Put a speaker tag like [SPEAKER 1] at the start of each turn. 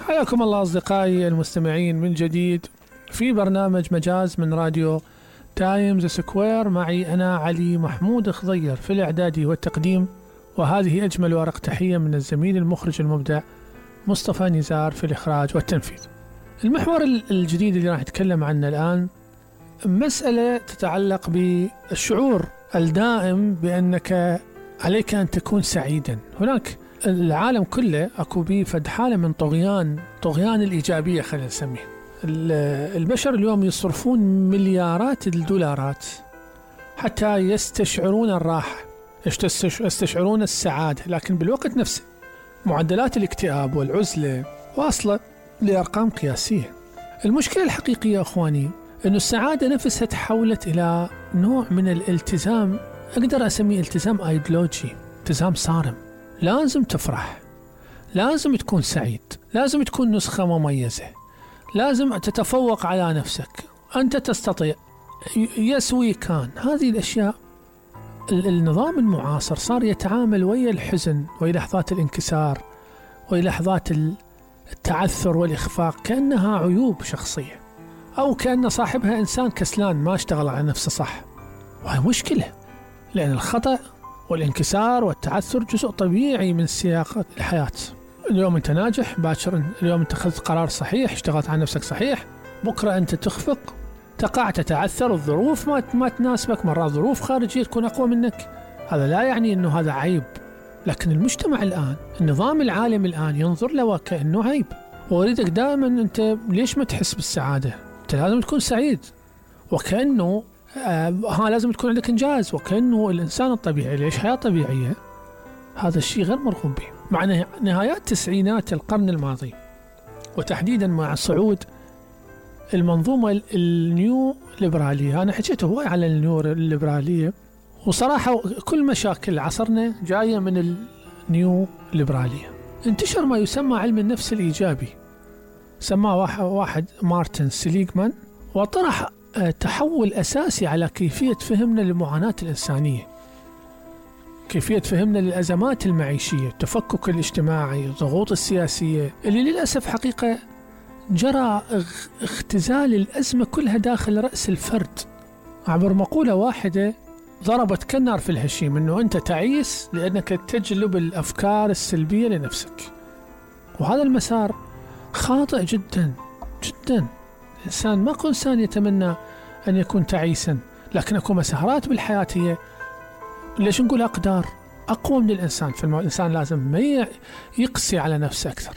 [SPEAKER 1] حياكم الله أصدقائي المستمعين من جديد في برنامج مجاز من راديو تايمز سكوير. معي أنا علي محمود خضير في الإعدادي والتقديم، وهذه أجمل ورق تحية من الزميل المخرج المبدع مصطفى نزار في الإخراج والتنفيذ. المحور الجديد اللي راح نتكلم عنه الآن مسألة تتعلق بالشعور الدائم بأنك عليك أن تكون سعيدا. هناك العالم كله أكو بيه فد حالة من طغيان الإيجابية، خلينا نسميه. البشر اليوم يصرفون مليارات الدولارات حتى يستشعرون الراحة، يستشعرون السعادة، لكن بالوقت نفسه معدلات الاكتئاب والعزلة واصلة لأرقام قياسية. المشكلة الحقيقية أخواني أن السعادة نفسها تحولت إلى نوع من الالتزام، أقدر أسميه التزام أيديولوجي، التزام صارم. لازم تفرح، لازم تكون سعيد، لازم تكون نسخة مميزة، لازم تتفوق على نفسك، أنت تستطيع، يسوي كان. هذه الأشياء النظام المعاصر صار يتعامل ويا الحزن، ويا لحظات الانكسار، ويا لحظات التعثر والإخفاق كأنها عيوب شخصية، أو كأن صاحبها إنسان كسلان ما اشتغل على نفسه صح. وهي مشكلة، لأن الخطأ والانكسار والتعثر جزء طبيعي من سياق الحياة. اليوم أنت ناجح، باكر اليوم أنت أخذت قرار صحيح، اشتغلت على نفسك صحيح، بكرة أنت تخفق، تقع، تتعثر، الظروف ما تناسبك، مرات ظروف خارجية تكون أقوى منك. هذا لا يعني أنه هذا عيب، لكن المجتمع الآن، النظام العالمي الآن ينظر له وكأنه عيب، وأريدك دائما أنت ليش ما تحس بالسعادة؟ أنت لازم تكون سعيد، وكأنه لازم تكون عندك إنجاز، وكأنه الإنسان الطبيعي ليش حياة طبيعية. هذا الشيء غير مرغوب به. مع نهايات تسعينات القرن الماضي، وتحديدا مع صعود المنظومة النيو ليبرالية، أنا حكيت هواي على النيو ليبرالية، وصراحة كل مشاكل عصرنا جاية من النيو ليبرالية. انتشر ما يسمى علم النفس الإيجابي، سماه واحد مارتن سليغمان، وطرح تحول أساسي على كيفية فهمنا للمعاناة الإنسانية، كيفية فهمنا للأزمات المعيشية، التفكك الاجتماعي، الضغوط السياسية، اللي للأسف حقيقة جرى اختزال الأزمة كلها داخل رأس الفرد عبر مقولة واحدة ضربت كالنار في الهشيم، أنه أنت تعيس لأنك تجلب الأفكار السلبية لنفسك. وهذا المسار خاطئ جدا جدا. الإنسان ما كل إنسان يتمنى أن يكون تعيسا، لكن أكو مسارات بالحياة هي ليش نقول أقدار أقوى من الإنسان، فالإنسان لازم ما يقسي على نفسه أكثر.